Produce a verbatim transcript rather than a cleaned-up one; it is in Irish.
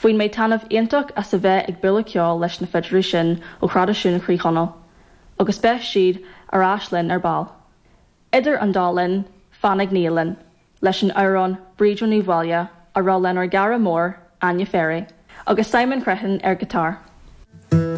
Bhain mé taitneamh iontach as a bheith ag bualadh ceoil leis na fidléirí sin ó thraidisiún Chroí Chonaill, agus beidh siad ar ais linn ar ball. Idir an dá linn fanfaidh Nia linn, leis an amhrán Bríd Ní Bhaile á rá lenár gcara mór Áine Ferry, agus Simon Crehan ar guitar.